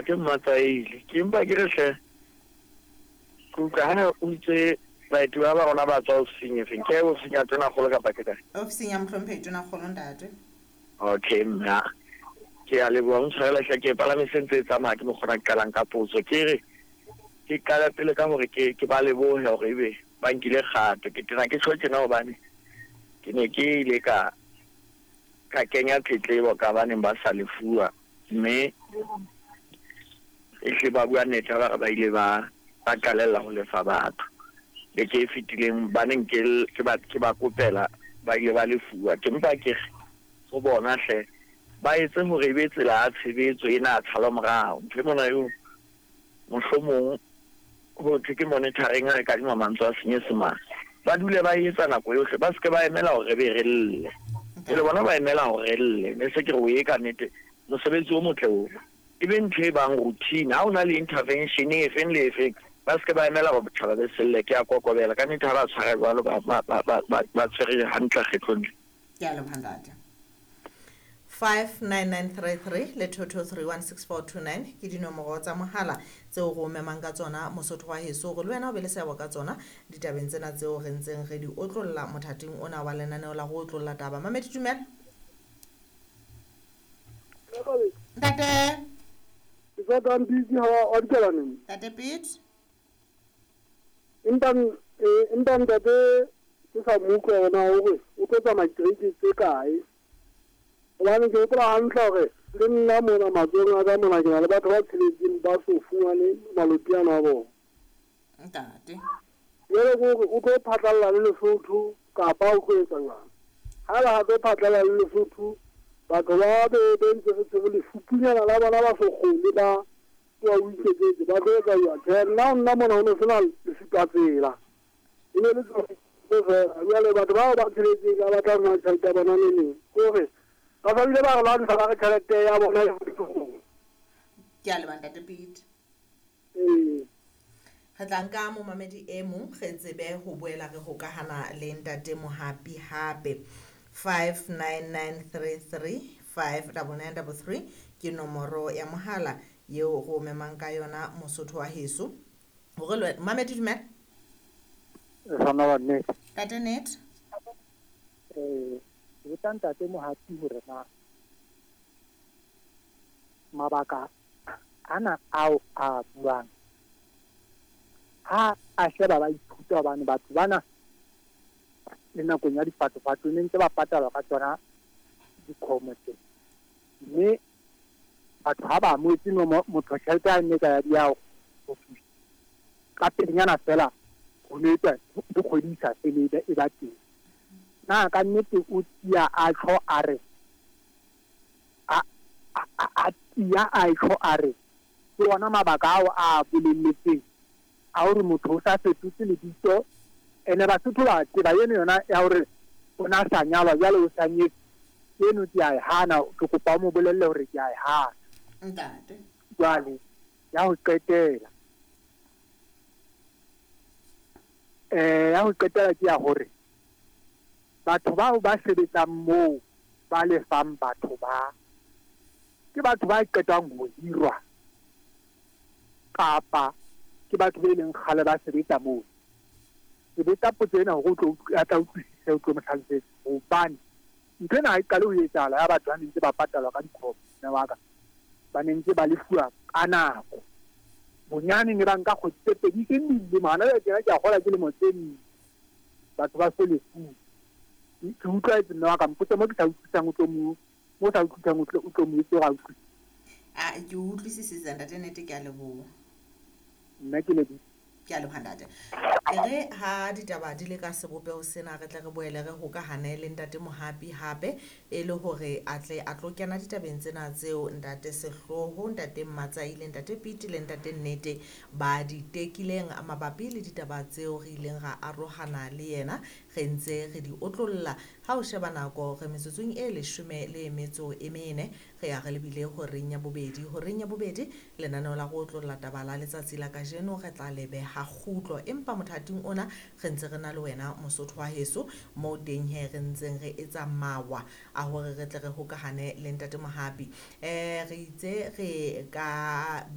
Ke Mmatsaile. Ke mpa ke re hle, ke utlwa ha o itse baeti ba ba rona ba tswa ofising efeng? Ke ofising ya Tonakgolo kapa ke kae? Ofising ya Mohlomphehi Tonakgolo, ntate. Okay mme, ke a leboha o ntshwarele hle, ke e palame se ntse e tsamaya ke mokgona ke qalang ka potso. Ke re ke qale pele ka hore ke ke ba lebohe hore ebe ba nkile kgato. Ke tena ke tjho tjena hobane ke ne ke ile ka ka kenya tletlebo ka ba neng ba sa lefuwa, mme ehlile ba bua nnete ha ba re ba ile ba ba qalella ho lefa batho. Beke e fetileng ba neng ke ke ba ke ba kopela ba ile ba lefuwa. Ke mpa ke re ho bona hle ba etse hore e be tsela ya tshebetso ena ya tshalomorao. Ntho e mona eo mohlomong ho thwe ke monitoring ha re kadima mantswe a Senyesemane. Ba dule ba e etsa nako yohle, ba se ke ba emela hore re be re lle. Jwale bona ba emela hore re lle, ne se ke re o ye ka nnete mosebetsi o motle ona. E be ntho e bang routine. Ha o na le intervention e feng le e feng, ba se ke ba emela hore botjhaba be selle. Ke a kokobela ka nnete ha ba tshwara jwalo, ba ba ba ba ba ba tshwere hantle kgetlong le. Ke a leboha ntate. 59933 le 22316429 ke dinomoro tsa mohala tseo re o memang ka tsona Mosotho wa heso, hore le wena o be le seabo ka tsona ditabeng tsena tseo re ntseng re di otlolla mothating ona wa lenaneo la go otlolla taba. Mamedi, dumela. Ntate. Ke sa tang busy ha wa dikela neng? Ntate Pete. Empa empa ntate ke sa mo utlwa hore na hore o tlo tsamaya ditereke tse kae. Hobane ke hopola hantle hore le nna mona matsohong a ka mona ke na le batho ba tsheletseng ba so fumane maloti ano a bona. Ntate. Jwale ke hore o tlo phatlalla le Lesotho kapa o tlo etsa jwang? Haeba ha tlo phatlalla le Lesotho, batho ba be be ntse re tshwere lefupunyana la bona ba so kgone ba tloha o iketsetse, ba tlo etsa jwang? Tjhe, nna ho nna mona ho no sena lesupa tsela. E ne le tsona fela. Jwale batho bao ba tsheletseng ba batla ho fumana tjhelete ya bona neneng. Ke hore ba sa bile ba re lwantsha ba re tjhelete ya bona e ho. Ke a leboha ntate Pete. Ee. Re tla nka momamedi e mong re tsebe ho boela re hokahana le ntate Mohapi hape. 59933 59933 ke nomoro ya mohala yeo go memang ka yona Mosotho wa heso. Hore le wena mamedi, dumela. Sana wa nnete. Ntate Net. Ke botsa ntate Mohapi hore na mabaka ana ao a buang ha a sheba ba ithuta, hobane batho bana le nakong ya dipatopato ne ntse ba patalwa ka tsona dikgomo tse, mme batho ha ba amohetse no motho tjhelete ya nne ka ya di ya office ka pelenyana fela ho no etswa le kgwedi e sa fele e ba teng. Na ka nnete o tia a tjho a re a a tia a tjho a re ke ona mabaka ao a bolelletseng a hore motho o sa fetotse lebitso, ene Basotho ba tseba eno yona ya hore o na sa nyalwa jwale o sa nyetse, eno ke a e hana. Ke kopa o mo bolelle hore ke a e hana. Ntate. Jwale ya ho qetela, ya ho qetela ke ya hore batho bao ba sebetsang moo ba lefang batho ba ke batho ba qetang ho hirwa kapa ke batho be leng kgale ba sebetsa moo. Ke botsa potso ena hore o tlo a tla utlwisisa, o tlo mo hlalosetsa, hobane ntho ena ha e qale ho etsahala ya batho ba ne ntse ba patalwa ka dikgomo, mme wa ka ba ne ntse ba lefuwa ka nako. Bonyane ne ba nka kgwedi tse pedi, e seng dilemo. Hana jwale tjena ke a kgolwa ke lemo tse nne batho ba so lefuwe. Ke utlwaetse mme wa ka, mpotse mo ke sa utlwisisang, o tlo mo mo sa utlwisisang, o tlo mo etse hore a utlwisise. A ke utlwisisitse ntate Nete, ke a leboha. Nna ke lebohile. Ke a leboha ntate. E re ha ditaba di le ka sebopeho sena, re tle re boele re hokahane le ntate Mohapi hape, e le hore a tle a tlo kena ditabeng tsena tseo ntate Sehloho, ntate Mmatsai le ntate Pete le ntate Nnete ba di tekileng mabapi le ditaba tseo re ileng ra arohana le yena re ntse re di otlolla. Ha o sheba nako re metsotsong e 14 re ya re lebile horeng ya bobedi. Horeng ya bobedi lenaneo la go otlolla taba la letsatsi la kajeno re tla le beha kgutlo, empa mothating ona re ntse re na le wena Mosotho wa heso moo teng he re ntseng re etsa mawa a hore re tle re hokahane le ntate Mohapi. Re itse re ka